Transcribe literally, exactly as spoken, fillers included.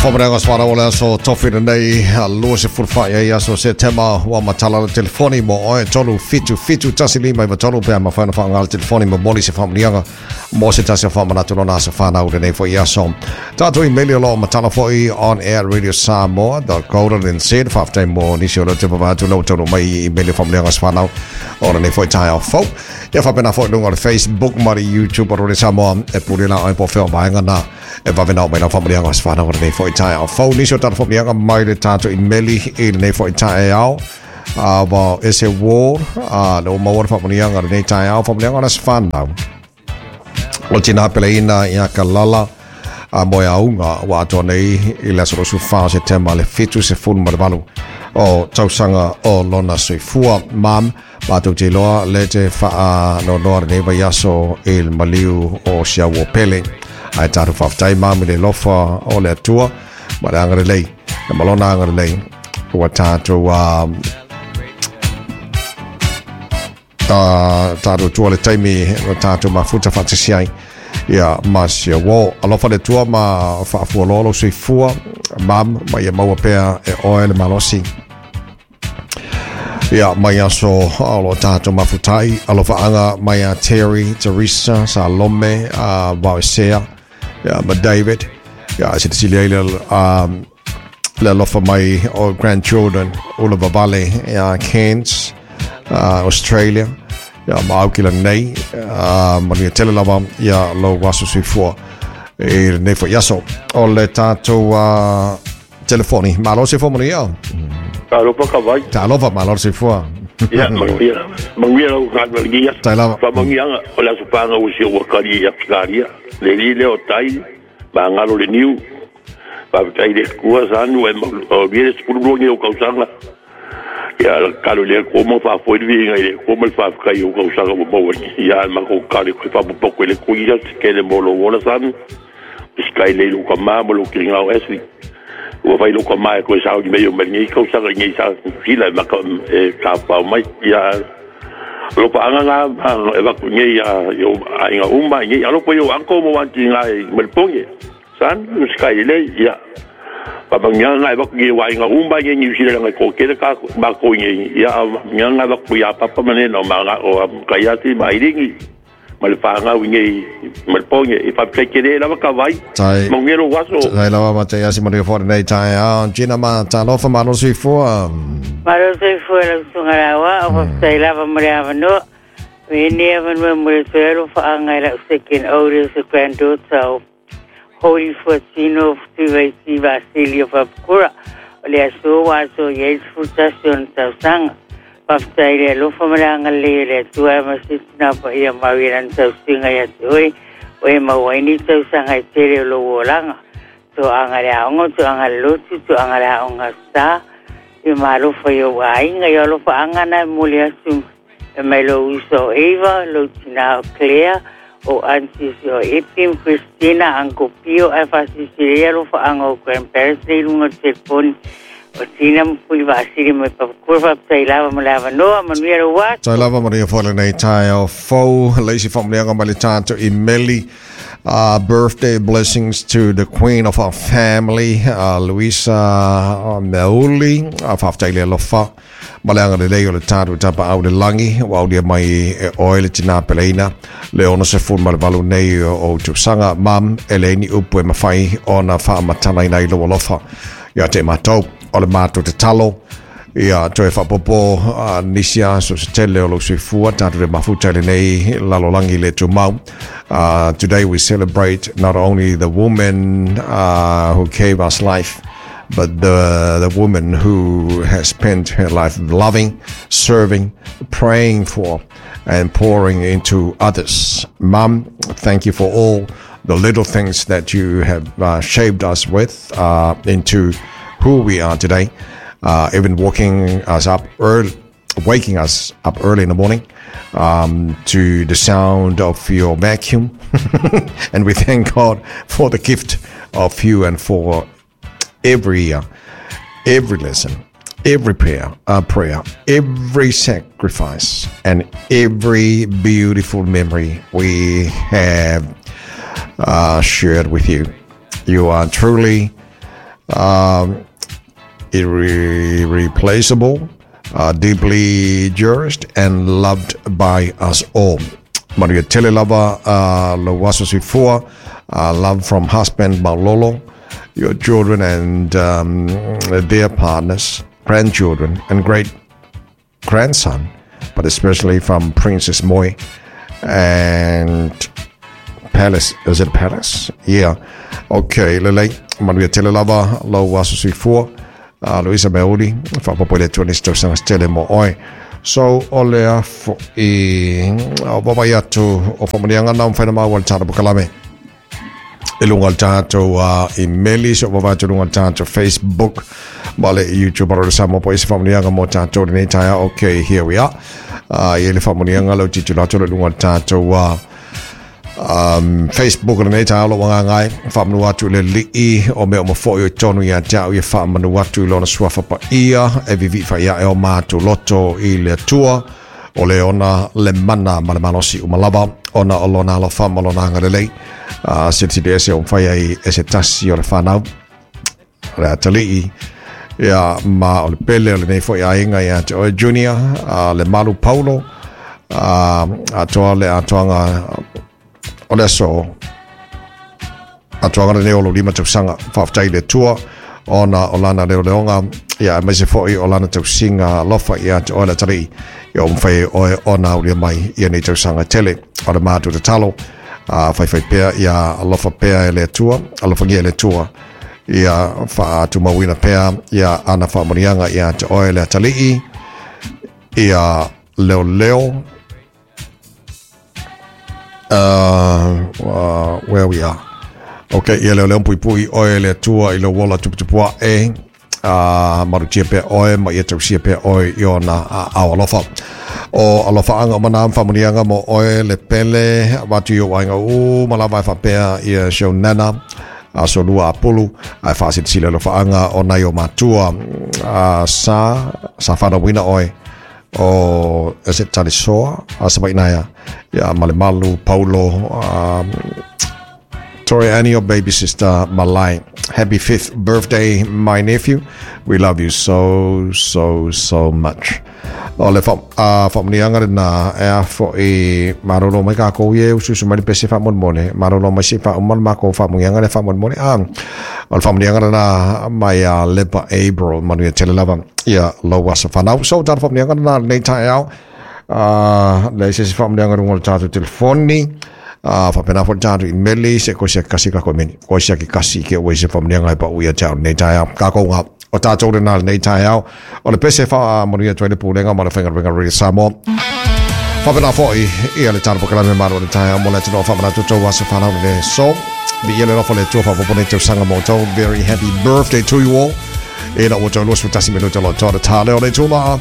Whamarenga swara o le aso tofina nei lua se furufai ai aso se tema wa matala le telefoni mo oe tolu fitu fitu tasi lima iwa tolu pea mawhaina whaanga le telefoni mo moli se whamanianga mo se tasi o whamanatu lona aso whanau le nei fo i aso. Tātou i-maili o lo matala fo i on air radio samoa dot co dot n z whaftai mo nisi o le te pavatu lau tolu mai i-maili o whamarenga swhanau o le nei fo i tai au fau. Ia whapena fo i lunga o le Facebook ma le YouTube o le Samoa e puri la oi po wheo vaenga na e vawena o mai lau whamarenga swhanau o le nei fo i tai au fau. Nisi o tātou whamarenga mai le tātou i-maili i le nei fo i tai au. Uh, wa ese ward uh, le o maua le whamarenga le nei tai au whamarenga na swhanau. O tina pele ina ia ka lala a moe aunga wa atoa nei i le aso rosu wha se tema le fitu se fulu ma le valu o tausanga o lona soifua mam mātou te loa le te whaa no noa le nei vai aso i le maliu o siau o pele ai tātou whaftai mam i le lofa o le atua ma le angare lei le malona angare lei ua tātou um, uh, tātou tua le taimi o tātou mafuta whatasi ai ia ma sia wo alofa le tua ma whaafua lolo soifua mam ma ia maua pea e oe le malosi ia mai aso alo tātou mafutai alofa anga mai a Terry, Teresa, Salome, uh, Waisea ia ma David ia se te sili le um, le alofa mai o grandchildren ula vavale ia Cairns, uh, Australia ia ma au kila nei uh, manuia tele lava ia lau waso soifua e le nei fo iaso o le tātou uh, telefoni malo se fo manuia Talofa ka vai. Talofa malo soifua. Ia manuia manuia lau ka Tai lava. Fa mangianga o la supanga o si o kali ia karia le li le o tai ma ngalo le niu pa tai le kua sanu e o vi le spulu ni o kausanga ia kalo le ko mo fa fo vi ngai le ko mo fa ka yo kausanga mo mo ia ma ko kali ko fa po ko le ko ia ke le mo lo wala san sky le lu ka ma mo lo ki ngau esli ua fai loko mai ko sa ni mei o ni kausanga ni sa fila ma ka e ka pa mai ia lo pa anga nga e va ku ni ia yo ainga uma ni alo po yo anko mo wanti ngai mel ponge san sky le ia pa ba nga nga va ku ni wa inga uma ni ni sila ngai ko ke ka ma ko ni ia nga nga va ku ia papa mane no ma nga o ka ia ti mai ringi ma le whangau i ngei ma le ponge i whapekere lava ka vai Tai mo ngero waso Tai lava ma te asi manuia fo nei tai au Gina ma talofa malo soifua Malo soifua lau sunga lawa o whaftai lava mo le avanoa me ni avanoa mo le toelo whaanga i lau second oldest granddaughter o Holy Fuatino Tuvaiti Vasili o Papakura o le aso wa aso i eis futasi o na tausanga Whaftai le alofa ma le angalei le atua e masitina pa ia mau i lana tausiga ia te oe o e maua ai ni tausaga e tele o lou olaga toaga le aoga toaga le lotu toaga le aoga sa i malofa i ou aiga i alofa aga na e moli atu e mai lou uso o Eva lou tina o Claire o aunties o Epim Christina Uncle Pio ae faasisilei alofa aga o grandparents nei luga o telefoni o tina mpuli vaasili mai papakura faaptai lava ma le avanoa manuia lou aso. Tai lava manuia fo le nei tai au fou leisi whamarenga mai le tātou i meli uh, birthday blessings to the queen of our family uh, Luisa Meuli uh, whaftai le alofa ma le anga le lei o le tātou tapa au le langi wa au lia mai e oe le tina peleina le ono se fulu ma le valu nei o tausaga mam e le ni upu e mawhai ona whaamatana ina i lo alofa ia te mātou o le mātou te talo ia toe whapopo uh, nisi aso se tele o lau soifua tātou le mafuta le nei lalolangi le tumau. Uh, today we celebrate not only the woman uh, who gave us life but the, the woman who has spent her life loving, serving, praying for and pouring into others. Mum, thank you for all the little things that you have uh, shaped us with uh, into who we are today, uh, even waking us up early, waking us up early in the morning um, to the sound of your vacuum. And we thank God for the gift of you and for every year, every lesson, every prayer, uh, prayer, every sacrifice, and every beautiful memory we have uh, shared with you. You are truly Um, irreplaceable, uh, deeply cherished and loved by us all. Manuia tele lava uh, lou aso soifua, uh, love from husband Maulolo, your children and um, their partners, grandchildren and great grandson, but especially from Princess Moi and Palace. Is it Palace? Yeah. Okay, lelei. Manuia tele lava lou aso soifua. Uh, Luisa Meuli, faapopo i le Atua nisi tausaga se tele mo oe. So, o lea fo'i, o vaavaai atu o faamanuiaga na ua mafai ona maua i le tatou polokalame i luga o le tatou uh, imeli, so vaavaai atu i luga o le tatou Facebook ma le YouTube o le Samoa po i se faamanuiaga mo tatou lenei taeao. Okay, here we are. Uh, i le faamanuiaga leu tilotilo atu i luga o le tatou uh, um, Facebook o lenei taeao, lou agaga e faamanu atu i le Alii o mea uma foi o i totonu ia te au, ia faamanu atu i lona suafa paia e viivii faaiae o matou loto i le Atua o le ona le mana ma le malosi uma lava ona o lona alofa ma lona agalelei uh, silisili ese o mafai ai e se tasi o le fanau o le atalii ia ma o le pele o lenei foi aiga ia te oe Junior, uh, le malu Paulo, uh, atoa le atoaga o le aso atoaga lenei o lou lima tausaga. Faafetai i le Atua ona o lana leoleoga ia aemaise foi o lana tausiga alofa ia te oe le atalii ia ua mafai ai oe ona aulia mai ia nei tausaga tele. O le matou tatalo, uh, faifai pea ia alofa pea e le Atua, alofagia e le Atua ia faatumauina pea ia ana faamanuiaga ia te oe le atalii ia leoleo. uh, uh, where we are. Okay, ia leoleo puipui oe le Atua i lou ola tuputupu ae, uh, malutia pea oe ma ia tausia pea oe i ona aao alofa. O alofaaga uma na ma faamanuiaga mo oe le pele avatu i ou aiga uma lava e faapea ia si ou nana aso lua Apulu, ae faasilasila alofaaga o nai o matua uh, sa sa fanauina oe o se talisoa a Savainaia ia Malemalu Paulo, um, Tori Annie, your baby sister Malai. Happy fifth birthday, my nephew. We love you so, so, so much. O le fa, uh, faamanuiaga lena e a fo'i malolo mai kākou e usuusu mai le pese faamolemole malolo mai se i faauma le makou faamanuiaga le faamolemole a o le faamanuiaga lena mai a Lepa April. Manuia tele lava ia lou aso fanau. So tala faamanuiaga lena lenei taeao. Uh, leai se isi faamanuiaga i luga o le tatou telefoni, uh, faapena foi le tatou imeli se koe sia kasi kako imeni koe sia ke kasi ke ua i se faamanuiaga e pau ia te au lenei taeao. Kākou ngā o tātou lena lenei taeao o le pese faamanuia atu ai le Pulega ma le Faigaluega Radio Samoa. Faapena foi ia le tala polokalame malo o le taeao mo le atunuu faamanatu tou aso fanau lenei. So, viia le alofa o le Atua faaopoopo nei tausaga mo outou. Very happy birthday to you all. Ina ua toe luasefulu tasi minute o loa toa le tā leo le tulaga.